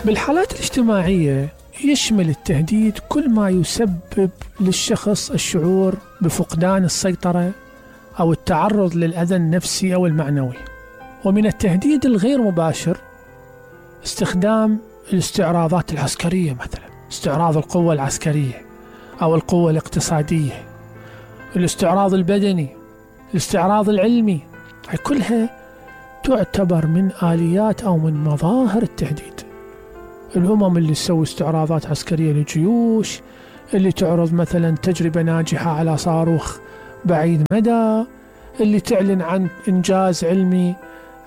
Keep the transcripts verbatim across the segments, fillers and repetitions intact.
بالحالات الاجتماعية يشمل التهديد كل ما يسبب للشخص الشعور بفقدان السيطرة أو التعرض للأذى النفسي أو المعنوي. ومن التهديد الغير مباشر استخدام الاستعراضات العسكرية، مثلا استعراض القوة العسكرية أو القوة الاقتصادية، الاستعراض البدني، الاستعراض العلمي، هاي كلها تعتبر من آليات أو من مظاهر التهديد. الأمم اللي تسوي استعراضات عسكرية للجيوش، اللي تعرض مثلا تجربة ناجحة على صاروخ بعيد مدى، اللي تعلن عن إنجاز علمي،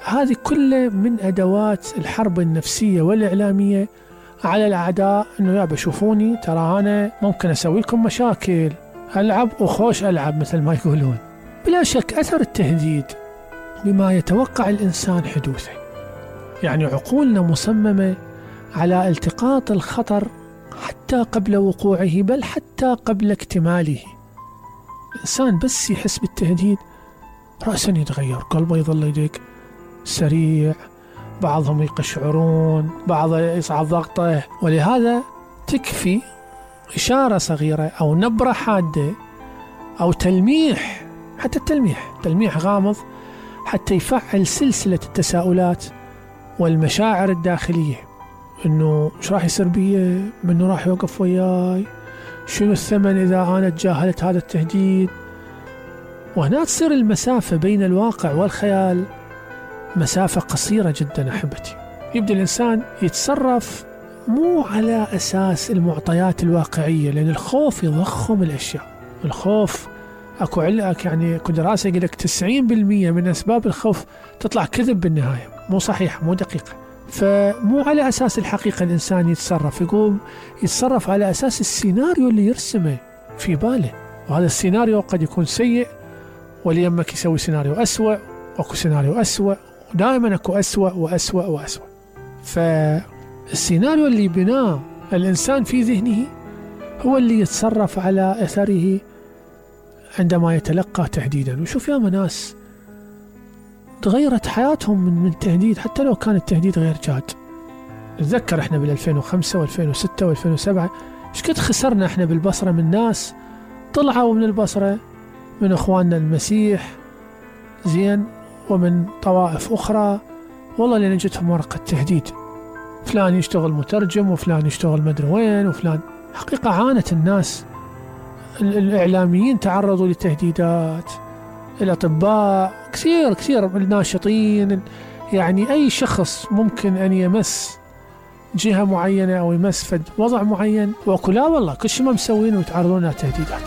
هذه كلها من أدوات الحرب النفسية والإعلامية على الأعداء، إنه يا بشوفوني ترى أنا ممكن أسوي لكم مشاكل، ألعب وخوش ألعب مثل ما يقولون. بلا شك أثر التهديد بما يتوقع الإنسان حدوثه، يعني عقولنا مصممة على التقاط الخطر حتى قبل وقوعه، بل حتى قبل اكتماله. الإنسان بس يحس بالتهديد رأسا يتغير، قلبه يظل يدق سريع، بعضهم يقشعرون، بعض يصعد ضغطه. ولهذا تكفي إشارة صغيرة أو نبرة حادة أو تلميح، حتى التلميح تلميح غامض، حتى يفعل سلسلة التساؤلات والمشاعر الداخلية، إنه إيش راح يصير بي، منو راح يوقف وياي، شنو الثمن إذا أنا تجاهلت هذا التهديد. وهنا تصير المسافة بين الواقع والخيال مسافة قصيرة جدا أحبتي. يبدأ الإنسان يتصرف مو على أساس المعطيات الواقعية، لأن الخوف يضخم الأشياء. الخوف أكو علق، يعني أكو دراسة يقول لك تسعين بالمئة من أسباب الخوف تطلع كذب بالنهاية، مو صحيحة مو دقيقة. فمو على أساس الحقيقة الإنسان يتصرف، يقوم يتصرف على أساس السيناريو اللي يرسمه في باله، وهذا السيناريو قد يكون سيء، وليمك يسوي سيناريو أسوأ، وأكو سيناريو أسوأ، ودائما أكو أسوأ وأسوأ وأسوأ. فالسيناريو اللي بناه الإنسان في ذهنه هو اللي يتصرف على أثره عندما يتلقى تهديدا. وشوف يا ناس تغيرت حياتهم من من تهديد، حتى لو كان التهديد غير جاد. نتذكر احنا بال ألفين وخمسة وألفين وستة وألفين وسبعة ايش قد خسرنا احنا بالبصرة من ناس طلعوا من البصرة، من اخواننا المسيح زين، ومن طوائف اخرى، والله لان جتهم ورقة تهديد، فلان يشتغل مترجم وفلان يشتغل مدري وين وفلان. حقيقة عانت الناس، الإعلاميين تعرضوا لتهديدات، الأطباء كثير كثير، الناشطين، يعني أي شخص ممكن أن يمس جهة معينة أو يمس فد وضع معين، وأقول لا والله كل شيء ما مسوين ويتعرضون لتهديدات.